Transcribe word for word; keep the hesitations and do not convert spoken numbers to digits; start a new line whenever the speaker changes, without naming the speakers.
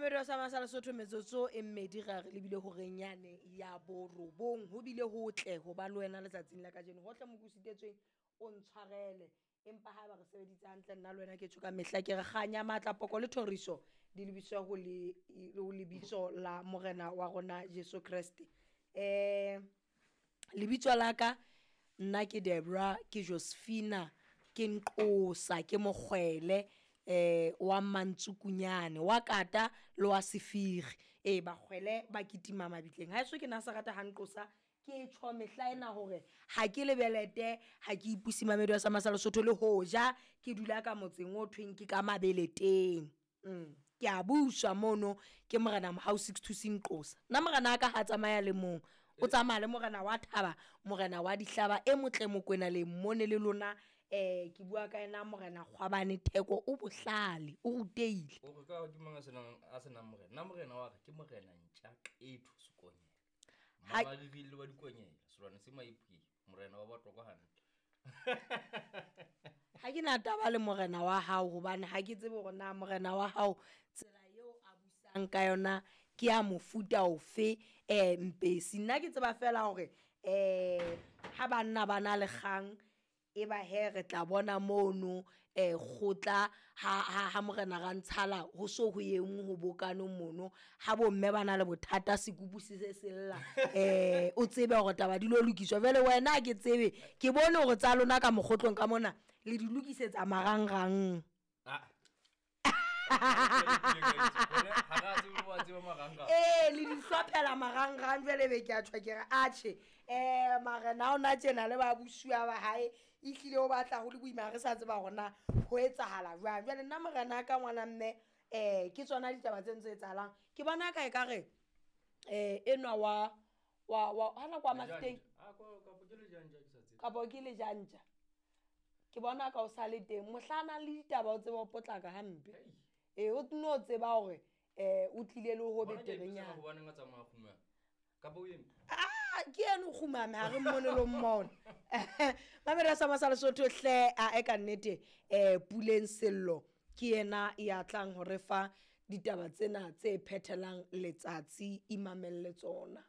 Mamedi wa Sama sa Lesotho, metsotso e mmedi ra re lebile horeng yane ya borobong. Ho bile hotle ho ba le wena letsatsing la kajeno. Hohle mo ke o sitetsweng o ntshwarele, empa ha eba re sebeditse hantle nna le wena, ke tjho ka mehla ke re kganya, matla, poko le thoriso di lebiswa ho le ho lebitso la Morena wa rona Jesu Kreste. um Lebitso la ka nna ke Debra, ke Josephina, ke Nqosa, ke Mokgwele eh wa Mantsukunyane, wa Kata le wa Sefiri. Ee, bakgwele ba kitima mabitleng. Haeso ke Nasaretha ha Nqosa, ke tjho mehla ena hore ha ke lebelete, ha ke ipuse. Mamedi wa Sama sa Lesotho, le hoja ke dula ka motseng o thweng ke ka Mabeleteng, mm. ke a buswa mono ke Morena Mohau Sixtus Nqosa. Nna morena ka ha tsamaya le mong, o tsamaya le morena wa thaba, morena wa dihlaba e motle Mokwena le mmone le lona. um ke bua ka ena Morena Kgwabane Theko, o bohlale, o rutehile.
O re ka ke mang a senang a senang morena? Nna morena wa ka ke Morena Ntja Qetho Sekonyela.
Ha-
Mamariri wa dikonyela, selwane se maipui, morena wa Batlokwa hantle.
Ha ke na taba le morena wa hao, hobane ha ke tsebe hore na morena wa hao tsela eo a busang ka yona ke ya mofuta ofe. um mpesi nna ke tseba fela hore um ha banna ba na le kgang, e ba he re tla bona mono um kgotla ha, ha, ha morena Rantshala ho so ho engwe ho bokane mono. Ha bomme ba na le bothata, sekupu se se sella, um o tsebe hore taba di lo lokiswa. Jwale wena ha ke tsebe, ke bone hore tsa lona ka mokgotlong ka mona le di lokisetsa marangrang.
Ah. Ha ra tsebe wa tseba marangrang.
Ee, le di hlophela marangrang. Jwale be ke a tjho ke re atjhe, um marena a ona tjena le babusuwa ba hae ehlile o batla ho le boima, re sa tseba hore na ho etsahala jwang. Jwale nna morena ka ngwana mme, um ke tsona ditaba tse ntse etsahalang. Ke bona ka e ka re um enwa wa wa wa hana kwa Mafeteng.
Ah, kwa kapo ke lejanja, ke sa tsebe.
Kapo ke lejantja, ke bona ka o sa le teng mohla a nang le ditaba, o tseba ho potlaka hampe.
Hei.
Ee, o no tseba hore um o tlile le ho
Bona ke a ipotsa
beterenyana.
Hobaneng a tsamaya kgumama? Kapa o eme?
Ah, ke eno o kgumame, ha re mmone lo mmone. Mamedi Sama sa Lesotho hle, a e ka nnete, um Puleng Sello ke yena ya tlang ho re fa ditaba tsena tse phethelang letsatsi. Imamelle tsona.